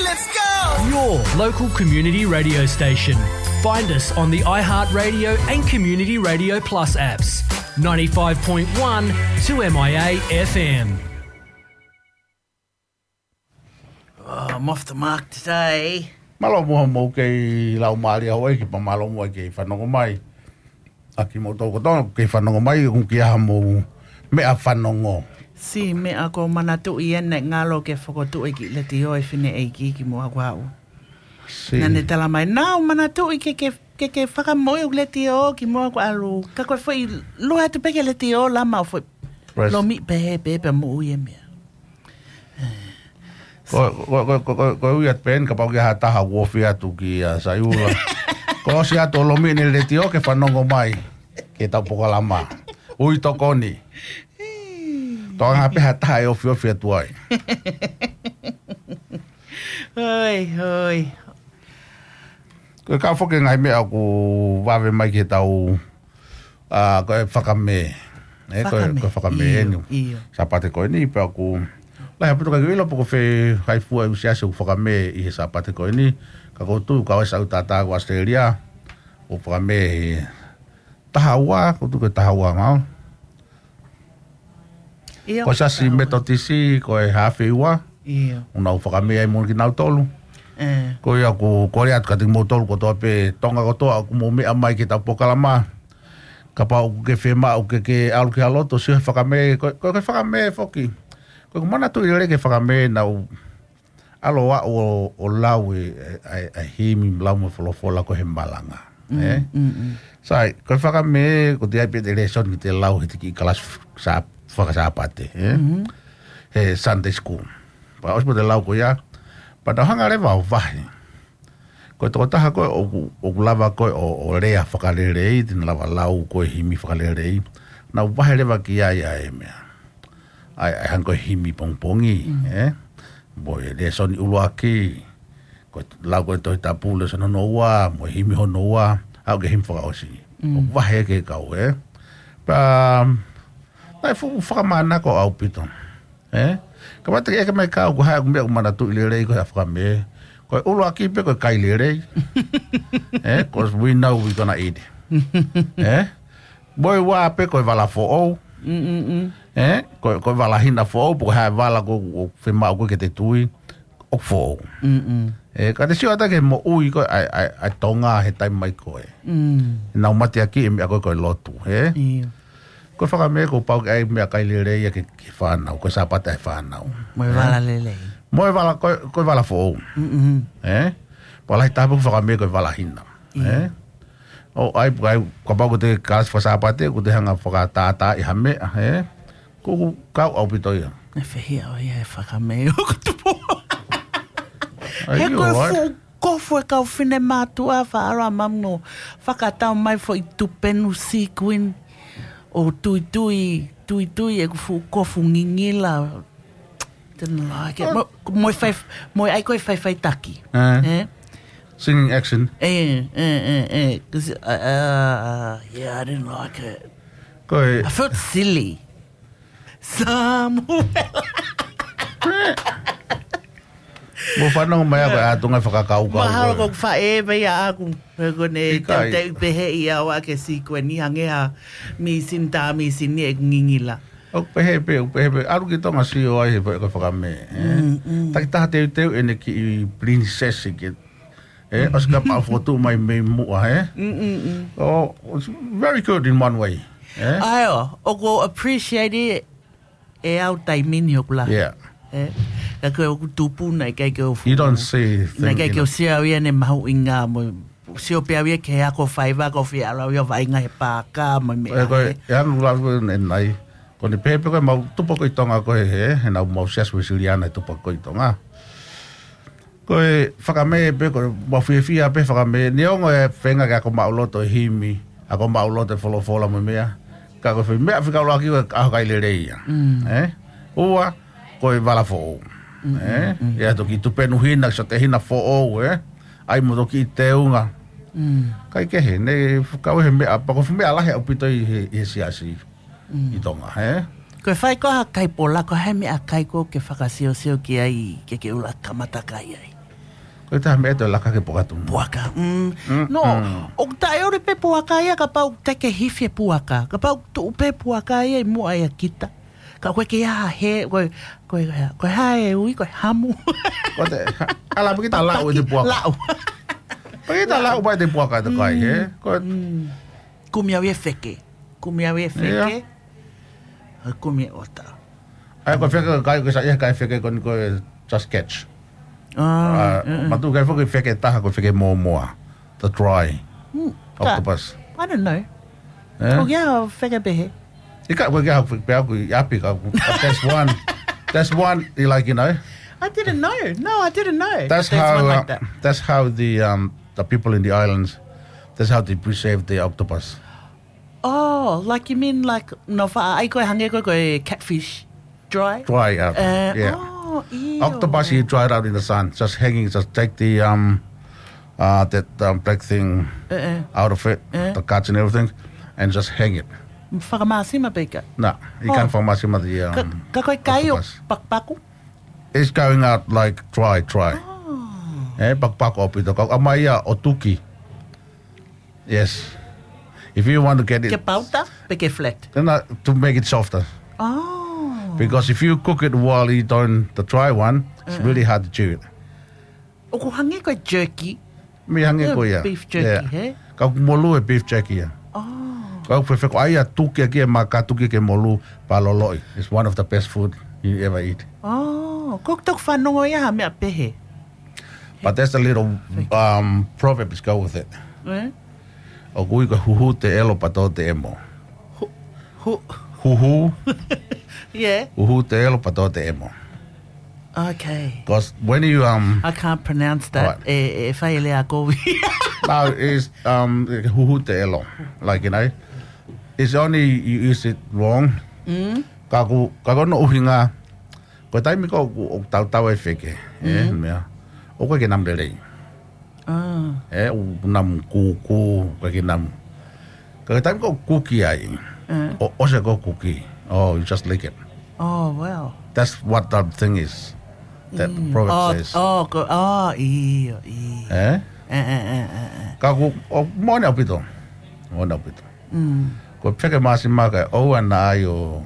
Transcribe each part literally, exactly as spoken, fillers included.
Your local community radio station. Find us on the iHeartRadio and Community Radio Plus apps. ninety-five point one two M I A F M. Oh, I'm off the mark today. Mālō muʻa mo kei lau mālie ʻa Hauʻeiki pea mālō muʻa kei fanongo mai. ʻA kimoutolu kotoa kei fanongo mai, ʻoku ʻikai ha mou meʻa fanongo. Siʻi meʻa ko manatuʻi ʻene ngalo ke fokotuʻu e kiʻi letiō e fineʻeiki kimuʻa ko au. Siʻi. Naʻa ne tala mai, naʻa ku manatuʻi ke, ke, ke, ke fakamoʻui ʻeku letiō kimuʻa ko ʻalu. Ka ko e foʻi lue atu pē ki he letiō lama ʻo foʻi Press. Lomi pehē pē pea moʻui e meʻa. Ko, ko, ko, ko, ko, ko e ui atu pē eni kapau ʻoku ʻi ai ha taha ʻoku ofi atu kia Saiula. Ko e ʻosi atu ʻo lomi ʻene letiō ke fanongo mai ki heʻetau polokalama. Ui tokoni. Toʻo ange pē ha taha ʻe ofiofi atu ai. Hoi, hoi. Ko e kau foki e ngaahi meʻa ʻoku vave mai ki heʻetau, ʻa, ko e fakamē. ʻE, ko e, Fakamē. Ko e fakamē ʻeni. ʻIo, ʻio. Sāpate ko eni, pea ʻoku lahi ʻaupito ʻikai ke u ʻilo pe ko fē ha fua ʻi he siasi ʻoku fakamē ʻi he Sāpate ko eni. Ka ʻoku ou tui, kau ai Sautata ko ʻAositelēlia, ʻoku fakamē he taha ua, ʻoku ou tui ko e taha ua ngao. ʻIo, ko e Siasi taha ua. Metotisi, ko e Hāfe Ua. ʻIo. ʻOku nau fakamē ai mo kinautolu. ʻE. Ko ia ʻoku kole atu kiate kimoutolu kotoa pē Tonga kotoa ʻoku mou meʻa mai ki heʻetau polokalama. Kapau ʻoku ke fiemaʻu ke ke ʻalu ki ha lotu, sio he fakamē, ko, ko, ko e fakamē foki. Ko ʻeku manatuʻi lelei ki he fakamē naʻa ku ʻalu ʻo, ʻo, ʻo lau e, e, e, e himi, lau mo e folofola ko e he malanga. Mm, ē? Mm, mm. Sai, ko e fakamē, ʻoku ʻi ai pē ʻete lēsoni ke te lau he ʻete kiʻi kalasi f-, sā-, fakasāpate, ē? Mm-hmm. He Sunday school. Pea ʻosi pē ʻete lau ko ia. Pea naʻa ku hanga leva ʻo vahe. Ko e tokotaha ko ē ʻoku, ʻoku lava ko ē ʻo, ʻo lea fakalelei, te ne lava lau ko ē himi fakalelei. Naʻa ku vahe leva ki ai ʻa e meʻa. ʻA e, ʻa e hangē ko e himi pongipongi, mm, ē? Mo e lēsoni ʻuluaki, ko e lau ko ē Tohi Tapu lēsoni hono ua, mo e himi hono ua, aʻu ki he himi fakaʻosi. Mm. ʻO vahe ki he kau, ē? Pea, naʻe fuʻu fakamānako ʻaupito. Ē? Ka mate ke ʻeke mai kiate au ko e hā ʻeku meʻa ʻoku manatuʻi lelei ko e fakamē. Ko e ʻuluaki pē ko e kai lelei. Ē? 'Cause we know we gonna eat. Ē? Mo e ua pē ko e vala foʻou. Mm, mm, mm. Ē? Ko, ko e vala hina foʻou, pe ko e hā e vala ko, ʻoku fiemaʻu ko ē ke te tui, ʻoku foʻou. Mm, mm. Ē, ka te sio atu ki he moʻui ko ē ʻa e, ʻa e, ʻa e Tonga he taimi mai ko ē. Mm. Naʻa nau mateakiʻi e meʻa ko ē ko e lotu, ē? ʻIo. Ko e fakamē kuo pau ke ʻi ai e meʻakai lelei ia ki he, ki he fānau, ko e Sāpate ʻa e fānau. Mo e vala lelei. Mo e vala, ko e, ko e vala foʻou. Mm, mm. Ē? Pea lahi taha pē ʻoku fakamē ko e vala hina. ʻIo. Ē? ʻO ʻai, ʻai, kapau ko ʻete kalasi fakasāpate, ko ʻete hanga fakatātā ʻi ha meʻa, ē? Ko ʻeku kau ʻaupito ia. ʻE fehiʻa ʻo ia he fakamē ʻoku tupu. Are you all right? He ko e fuʻu kofu e kau finemātuʻa faʻa ʻalu ʻa mamu ʻo fakatau mai foʻi tupenu sequin ʻo tuitui, tuitui ʻeku fuʻu kofu ngingila. Didn't like it. Mo, mo e fai, mo e ʻai ko e faifaitaki. Eh. Eh? Singing action. Eh, eh, eh, eh. 'Cause, uh, uh, yeah, I didn't like it. Ko e I felt silly. Samuela. Mou fanongo mai ʻa e ko e ʻatunga fakakaukau. Mahalo ko ē. Ko e faʻē pē ia ʻaʻaku. He ko ʻene ʻikai. Teuteu pehē ia ʻo ake sikueni hangē ha mīsini tā mīsini ʻeku ngingila. ʻOku pehē pē, ʻoku pehē pē. ʻAlu ki Tonga sio ai he ko e fakamē, ē? Mm, mm. Takitaha teuteu ʻene kiʻi pilinisesi ke, ē? ʻOsi ka pau fotu mai mei muʻa, ē? Mm, mm, mm. Oh, it's very good in one way, ē? ʻAi ʻo, ʻoku appreciate it. ʻE au taimi ni ʻoku lahi. Yeah. Eh, ka ko ʻeku tupu naʻe ʻikai ke u fuʻu. You don't see thing, naʻe ʻikai ke u sio au ia ʻene mahuʻinga mo sio pē au ia ki he ako faiva ko fē ʻalu au ia ʻo vaʻinga he paaka mo e meʻa. Eh, ko e, eh. ʻE anu lawe ne nai. Ko ʻene pehē pē ko e mau tupu ko ē ʻi Tonga ko ē, he, he naʻa mau Siasi Uēsiliana he tupu ko ē ʻi Tonga. Ko e fakamē pē, ko e mau fiefia pē fakamē. Neongo e feinga ke ako maʻuloto e himi, ako maʻuloto e folofola mo e meʻa. Ka ko e foʻi meʻa fika ʻuluaki ko e ʻaho kai lelei ia. Mm. Eh? Ua, ko e vala foʻou. Mm, eh? Mm, mm. ʻE ʻai toki tupenu hina, sote hina foʻou, eh? ʻAi mo toki teunga. Mm. Kae kehe, ne kau he meʻa, pea ko e foʻi meʻa lahi ʻaupito ʻi he, ʻi he siasi. Mm. ʻI Tonga, ē? Ko e fai ko ē ha kai pola, ko e hā e meʻakai ʻoku ke fakasiosio ki ai, ke ke ʻuluaki kamata kai ai? Ko e taha meʻa ʻe toe laka ke puaka tumu. Puaka. Mm. Mm, no, mm. ʻOku taʻeʻaonga pē puaka ia kapau te ke hifo he puaka. Kapau tuʻu pē puaka ia ʻi muʻa ia kita. Ka ko e ke aha he, ko e, ko e, ko e hā e ui, ko e hamu. Ko te, ala piki ta laʻu e te puaka. Laʻu. Piki ta laʻu mai te puaka te kai, he? Ko e Kumi au e feke. Kumi au e feke. Ia. Kumi e ʻota. ʻAi, ko e feke kai, ko e sa ia kai feke ko ni ko e just catch. Ah, mm, mm. Matu kai foki feke taha ko e feke mōmoa. The dry octopus. I don't know. Eh? Ko kia feke pehe. Ika, ko kia feke pehe aku i api ka, but that's one. That's one, you like, you know. I didn't know. No, I didn't know. That's how, uh, that's how the, um, the people in the islands, that's how they preserve the octopus. Oh, like, you mean like, no, fa, ai ko e hangē ko e, ko e catfish. Dry? Dry out. Uh, yeah. Oh, ew. Octopus, you dry it out in the sun, just hanging, just take the, um, uh, that, um, black thing out of it, the guts and everything, and just hang it. Fakamāsima pē ka? No, you can't fakamāsima the, um, octopus. Ka, ka ko e kai ʻo pakupaku? It's going out like dry, dry. Oh. Eh, pakupaku ʻaupito. Ka, ʻomai ia ʻo tuki. Yes. If you want to get it. Ke pauta, pe ke flat? Then, uh, to make it softer. Oh. Because if you cook it while you don't, the dry one, it's really hard to chew it. ʻOku hangē ko e jerky. Mei hangē ko ia. Beef jerky, he? Ka ʻoku molū e beef jerky ia. Oh. Ka ʻoku fefeko ai a tuki ʻaki e maka tuki ke molū pea loloʻi. It's one of the best food you ever eat. Oh, ko e toki fanongo ia ha meʻa pehe. But there's a little, um, proverb is go with it. Eh? ʻOku ui ko e huhu te elo pea tō te emo. Hu-, hu- Huhu. Yeah. Huhu te elo pea tō te emo. Okay. 'Cause when you, um, I can't pronounce that. What? E, e fai e lea kovi. No, it's, um, huhu te elo. Like, you know, it's only you use it wrong. Mm. Ka ko, ka ko hono ʻuhinga, ko e taimi ko ē ʻoku tautau e feke, e, meʻa. ʻOku ʻikai ke namu lelei. Ah. E, ʻoku namu kūkū, ʻikai ke namu. Ka ko e taimi ko ē ʻoku kuki ai, ʻo, ʻosi ko ē kuki. Oh, you just lick it. Oh, wow. That's what that thing is. That proverb says. Oh, ko, oh, ʻio, ʻio. E? E, e, e, e, e. Ka ko, ʻo, moʻoni ʻaupito. Moʻoni ʻaupito. Mm. Ko e feke māsima ka ʻoua naʻa ʻai ʻo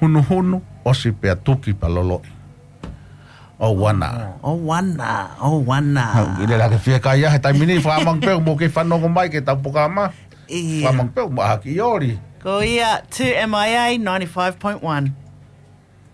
hunuhunu, ʻosi pea tuki pea loloʻi. ʻOua naʻa. ʻOua naʻa, ʻoua naʻa. ʻIle la ke fie kai ia he taimi ni, fakamangu pē mo ke fanongo mai ke tau pukama. ʻIo. Fakamangu pē mo ʻaki ʻoli. Ko ia, two M I A ninety-five point one.